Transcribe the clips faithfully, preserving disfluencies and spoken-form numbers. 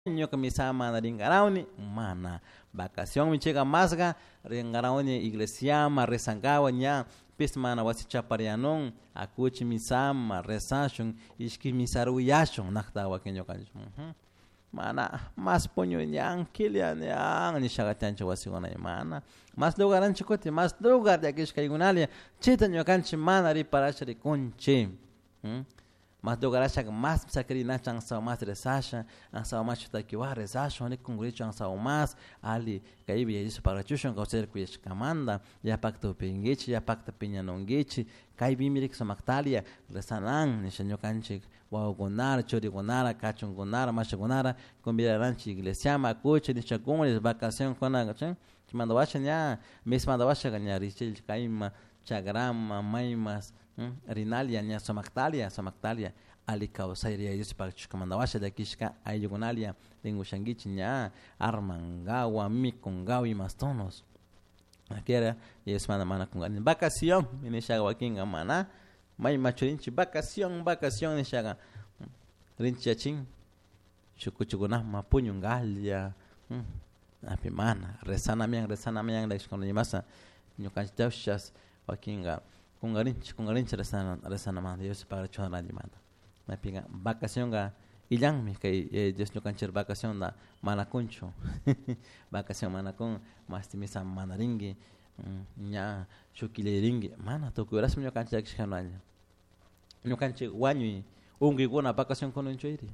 Ñuka misama rinkarawni mana vacación michika masga rinkarawni iglesiama rezankawa ña pis mana wasi chaparianun akuchi misama rezashun ishki misaruyashun nakta wakin ñukanchik mana mas puñuñan kiliañan nishaka tiyanchik wasikuna mana mas lugaranchik kutin mas lugar llakishkaykunalla chayta ñukanchik mana riparasha rikunchik mas lugarashaka mas sakirinachik ansawa mas rezasha ansawa mas shutakiwa rezashun rikunkurichun ansawa mas ali kaypi Yaya pagachushun kawsayta kuyashkamanta yapakta upinkichik yapakta piñanunkichik kaypimi rik sumaktalia rezanan nisha ñukanchik wawakunara churikunara kachunkunara mashikunara convidaranchik iglesiaman akuchik nishakun vacación kuna chay chaymanta washa ña mismanta washa ña richik kayman chagraman maymas rinalia ña sumaktalia sumaktalia ali kawsay Yaya Dios pagachushkamanta washa llakishka ayllukunalia rinkushankichik ña armankawa mikunkawa imas tonos Kera Dios mana mana kunkani vacación nishaka wakinka mana mayma churinchik vacación vacación nishaka rinchik yachin shuk kuchukunaman puñunkalla api mana rezanamian rezanamian imasa ñukanchik wakinka kunkarinchik kunkarinchik rezana rezanamanta Dios pagachun rantimanta maypika vacacionka illanmi kay Yaya Dios ñukanchik vacacionta mana kunchu vacación mana kun mashti misa mana rinki ña shuk killa rinki mana tukuy horasmi ñukanchik llakishkanalla ñukanchik wañuy unkuykuna vacación kununchuri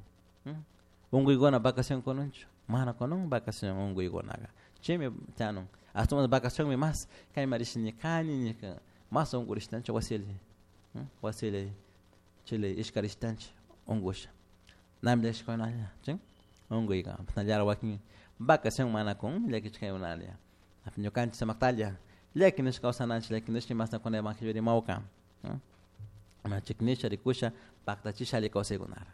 unkuykuna vacación kununchu mana kunun vacación unkuykunaka chaymi tiyanun ashtawan vacacionmi mas kayman rishani kani nika mas unkurishtanchik wasilla wasilla chile ishkarishtanchik unkusha nami llakishkunalla chin unkuyka chasnallara wakin vacación mana kun llakishkaykunalla ñukanchik sumaktalla llakinishka kawsananchik llakinishka imashna kuna evangelio rimawka chiknisha rikusha paktachisha alli kawsaykunara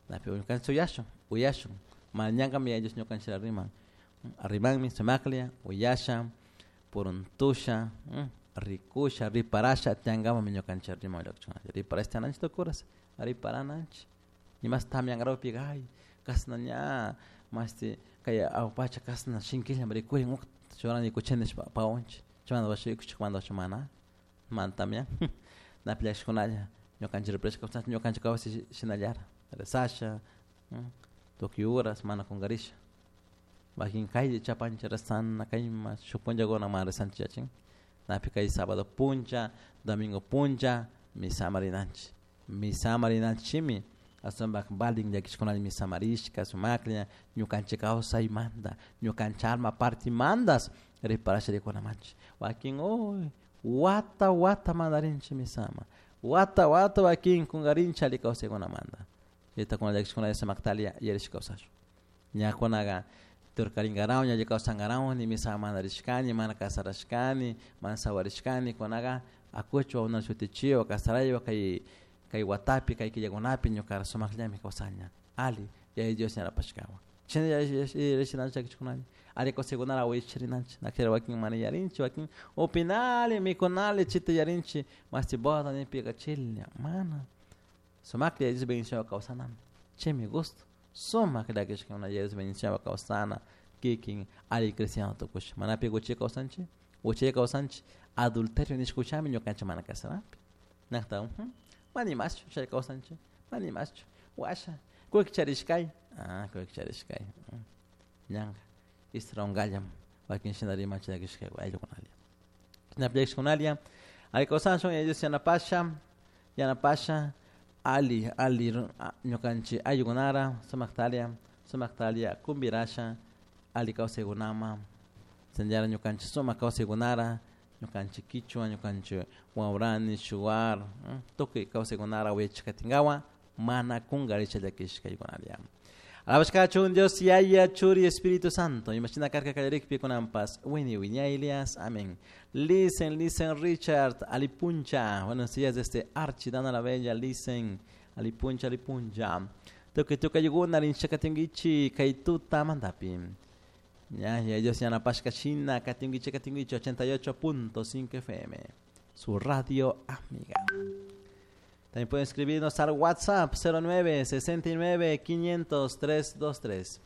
napi ñukanchik uyashun uyashun mana ñankami Yaya Dios ñukanchik riman rimanmi sumaklla uyasha puruntusha rikusha riparasha tiyankamami ñukanchik riman riparasha tiyananchik tukuras riparananchik imas tamyankarawpika ay kashna ña mashti kay agua pacha kashna shinkillami rikurin ukta churani kuchini nishpa pawanchik chaymanta washa rikuchikmanta mana mana tamyan napi llakishkunalla ñukanchik riparashka kawsanchik ñukanchik kawsay shinallara rezasha tukuy horas mana kunkarisha wakin kaylla chapanchik rezana kayma shuk punllakuna mana rezanchik yachin napi kay sábado punlla domingo punlla misama rinanchik misama rinanchikmi ashtawanpak valin llakishkunalla misamarishka sumaklla ñukanchik kawsaymanta ñukanchik alma partimantas riparasha rikunamanchik wakin uy wata wata mana rinchik misama wata wata wakin kunkarinchik alli kawsaykunamanta chayta kuna llakishkunalla sumaktalla yarish kawsashun ña kunaka turkarinkarawun ña alli kawsankarawun misa mana rishkani mana kasarashkani mana sawarishkani kunaka akuchik wawakuna shutichiwa kasaraywa kay kay watapi kay killakunapi ñuka sumakllami kawsana alli Yaya Dios yanapashkawan chayna yarishinanchik llakishkunalla alli kawsaykunata wicharinanchik nakira wakin mana yarinchik wakin upinali mikunali chayta yarinchik mashti boda nipika chilla mana sumaklla Yaya Dios bendicionwan kawsanami chaymi gusto sumak llakishkuna Yaya Dios bendicionwan kawsana kikin alli cristiano tukusha manapi uchilla kawsanchik uchilla kawsanchik adulterio nishka uchami ñukanchik mana kasanapi nakta mana imaschu chay kawsanchik mana imaschu washa kullki charishkay ah kullki charishkay ñanka istrawunkallam wakin shina rimanchik llakishka ayllukunalla chashnapi llakishkunalla alli kawsashun Yaya Dios yanapasha yanapasha alli alli ñukanchik ayllukunara sumaktalla sumaktalla kumbirasha alli kawsaykunaman chashnallara ñukanchik sumak kawsaykunara ñukanchik kichwa ñukanchik waurani shuar tukuy kawsaykunara wichik katinkawan mana kunkarisha llakishkaykunalla Alabashkachun Dios Yaya Churi Espíritu Santo imashina karka kallarikpi kunanpas wiñay wiñaylias amén. Listen, listen Richard Alipuncha. Buenos días desde Archi Dana la Bella. Listen Alipuncha Alipuncha. Tukuy tukuy ayllukuna rinchakatinkichik kay tuta mandapi. Ya, ya Dios yanapashka shina katinkichik katinkichik ochenta y ocho punto cinco F M. Su radio amiga. También pueden escribirnos al WhatsApp cero nueve sesenta y nueve quinientos tres dos tres.